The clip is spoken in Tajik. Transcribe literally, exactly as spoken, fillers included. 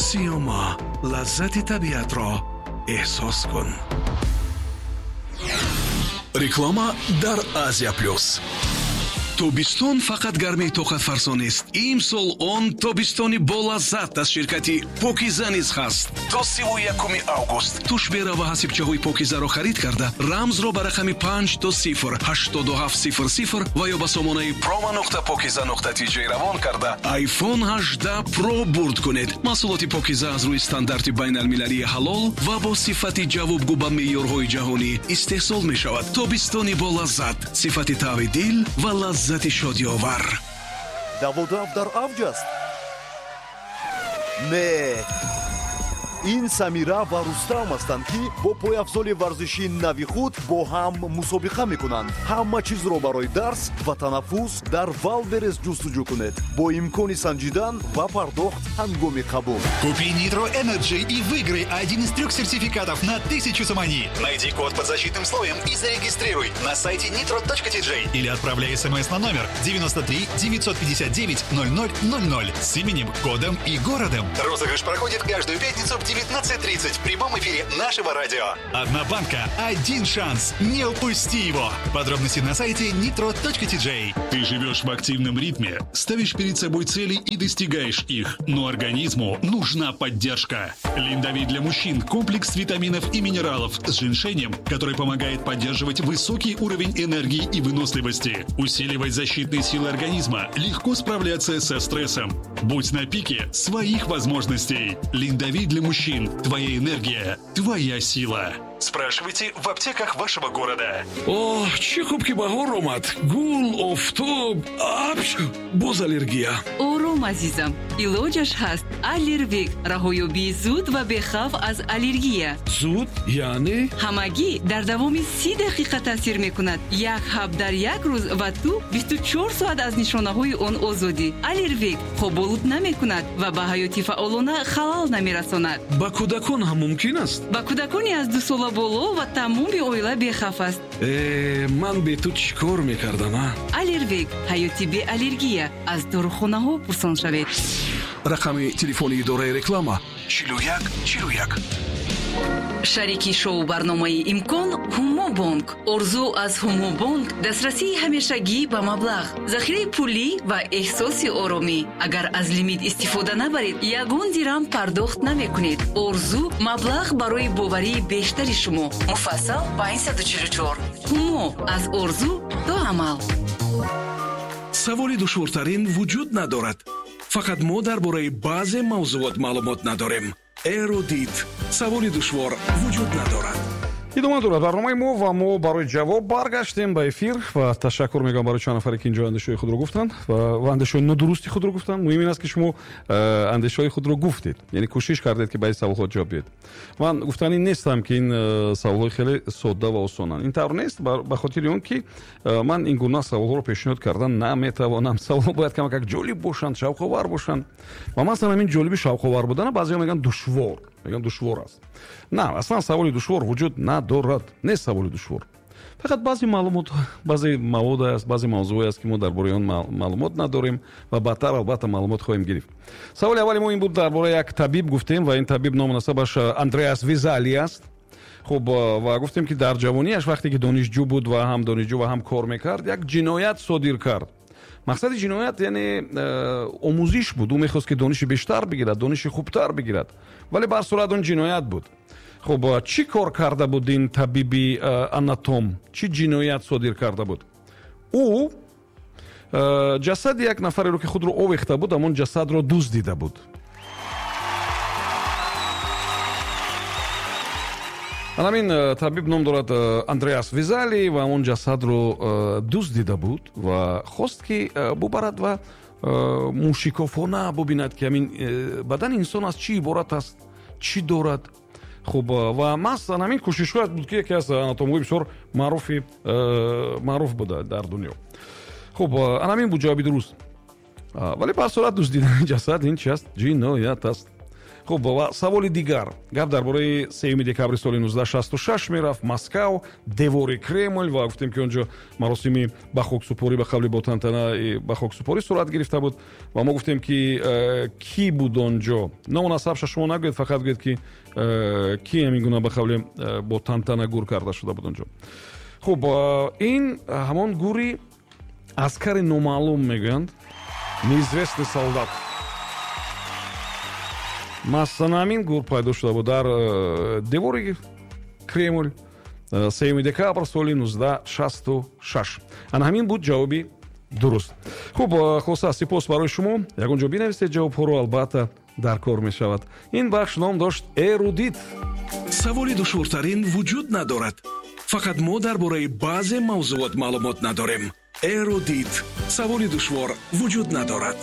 Сиёма, лаззати табиатро эҳсос кун. Реклама дар Азия Плюс. Тобистон фақат гармии тоқатфарсо нест. Имсол он тобистони болаззат аз ширкати Покиза низ ҳаст. То сиву якуми август тушбера ва ҳасибчаҳои Покизаро харид карда, рамзро ба рақами панҷ до сифр ҳаштоду ҳафт сифр сифр ва ё ба сомонаи промо нуқта покиза нуқта тж равон карда, iPhone ҳаждаҳ Pro бурд кунед. Маҳсулоти Покиза аз рӯи стандарти байналмилалии ҳалол ва бо сифати ҷавобгӯ ба меъёрҳои ҷаҳонӣ истеҳсол мешавад. Тобистони болаззат, сифати тави дил ва лаззат лаззати шодиовар. Даводав дар авҷ аст? Не, ин Самира ва Рустам ҳастанд, ки бо пойафзоли варзишии нави худ бо ҳам мусобиқа мекунанд. Ҳама чизро барои дарс ва танаффус дар Валберес ҷустуҷӯ кунед бо имкони санҷидан ва пардохт ҳангоми қабул. Купи Nitro Energy и выиграй один из трех сертификатов на тысячу сомони. Найди код под защитным слоем и зарегистрируй на сайте nitro точка tj или отправляй смс на номер девяносто три девятьсот пятьдесят девять ноль ноль ноль ноль с именем, кодом и городом. Розыгрыш проходит каждую пятницу в девятнадцать тридцать в прямом эфире нашего радио. Одна банка, один шанс. Не упусти его. Подробности на сайте nitro точка tj. Ты живешь в активном ритме, ставишь перед собой цели и достигаешь их. Но организму нужна поддержка. Линдовит для мужчин – комплекс витаминов и минералов с женьшенем, который помогает поддерживать высокий уровень энергии и выносливости, усиливать защитные силы организма, легко справляться со стрессом. Будь на пике своих возможностей. Линдовит для мужчин. Твоя энергия, твоя сила. Спрашивайте в аптеках вашего города. Оҳ, чӣ хуб ки баҳор омад. Гул, офтоб, апш, боз аллергия. Ором, азизам, илоҷаш ҳаст. Аллервек, раҳоёбии зуд ва бехавф аз аллергия. Зуд яъне? Ҳамагӣ дар давоми си дақиқа таъсир мекунад. Як ҳаб дар як рӯз ва ту бисту чор соат аз нишонаҳои он озодӣ. Аллервек хоболуд намекунад ва ба ҳаёти фаъолона халал намерасонад. Ба кӯдакон ҳам мумкин аст? Ба кӯдакони аз ду сола боло ва тамоми оила бехавф аст. Э, ман бе ту чӣ кор мекардам, а? Аллервек, ҳаёти беаллергия. Аз дорухонаҳо пурсон шавед. Рақами телефони идораи реклама чилу як чилу як. Шарики шоу-барномаи «Имкон» Ҳумобонк. Орзу аз Ҳумобонк дастрасии ҳамешагӣ ба маблағ, захираи пулӣ ва эҳсоси оромӣ. Агар аз лимит истифода набаред, ягон дирам пардохт намекунед. Орзу маблағ барои боварии бештари шумо. Муфассал панҷсаду чилу чор. Ҳумо аз орзу то амал. Саволи душвортарин вуҷуд надорад. Фақат мо дар бораи баъзе мавзуот маълумот надорем. Эрудит. Саволи душвор вуҷуд надорад. Идома дорад барномаи мо ва мо барои ҷавоб баргаштем ба эфир ва ташаккур мегӯям барои чанд нафаре ки инҷо андешаҳои худро гуфтанд ва андешаҳои нодурусти худро гуфтанд. Муҳим ин аст ки шумо андешаҳои худро гуфтед, яъне кӯшиш кардед ки ба ин саволҳо ҷавоб диҳед. Ман гуфтанӣ нестам ки ин саволҳои хеле содда ва осонанд. Ин тавр нест, ба хотири он ки ман ин гуна саволҳоро пешниҳод кардан наметавонам. Саволҳо бояд камакак ҷолиб бошанд, шавқовар бошанд ва масалан ҳамин ҷолиби шавқовар будана баъзеҳо мегӯянд душвор, мегӯянд душвор аст. На, аслан саволи душвор вуҷуд надорад. Нест саволи душвор. Фақат баъзе маълумот, баъзе мавод аст, баъзе мавзӯъ аст ки мо дар бораи он маълумот надорем ва баъдтар албатта маълумот хоҳем гирифт. Саволи аввали мо ин буд, дар бораи як табиб гуфтем ва ин табиб ному насабаш Андреас Визали аст. Хуб, ва гуфтем ки дар ҷавониаш вақте ки донишҷӯ буд ва ҳам донишҷӯ ва ҳам кор мекард, як ҷиноят содир кард. Мақсади ҷиноят яъне омӯзиш буд. Ӯ мехост ки дониши бештар бигирад, дониши хубтар бигирад, вале ба ҳар сурат он ҷиноят буд. Хуб, чӣ кор карда буд ин табиби анатом? Чӣ ҷиноят содир карда буд? Ӯ ҷасади як нафареро ки худро овехта буд, ҳамон ҷасадро дуздида буд. Ҳамин табиб ном дорад Андреас Визали ва ҳамон ҷасадро дуздида буд ва хост ки бубарад ва мушикофона бубинад ки ҳамин бадани инсон аз чӣ иборат аст, чӣ дорад. Хуб, ва маҳзан ҳамин кӯшишҳояш буд ки яке аз анатомҳои бисёр маъруфи маъруф буда дар дунё. Хуб, ана ҳамин буд ҷавоби дуруст. Вале ба ҳар сурат дуздидани ҷасад ин чи аст? Ҷиноят аст. Хуб, ва саволи дигар. Гап дар бораи сеюми декабри соли нуздаҳ шасту шаш мерафт. Москав, девори Кремл, ва гуфтем, ки он ҷо маросими ба хоксупорӣ, ба қавли бо тантана ба хоксупорӣ сурат гирифта буд. Ва мо гуфтем, ки э, кӣ буд он ҷо. Ному насабша шумо нагӯед, фақат гӯед, ки э, кӣ ҳамин гуна ба қавли э, бо тантана гур карда шуда буд он ҷо. Хуб, ин ҳамон гури аскари номаълум мегӯянд, неизвестный солдат. Масалан, ҳамин гур пайдо шуда буд дар э, девори Кремл э, сеюми декабр соли нуздаҳ шасту шаш. Ана ҳамин буд ҷавоби дуруст. Хуб, э, хулоса, сипос барои шумо. Ягон ҷо бинависед ҷавобҳоро, албатта дар кор мешавад. Ин бахш ном дошт «Эрудит». Саволи душвортарин вуҷуд надорад, фақат мо дар бораи баъзе мавзуот маълумот надорем. Эрудит: саволи душвор вуҷуд надорад.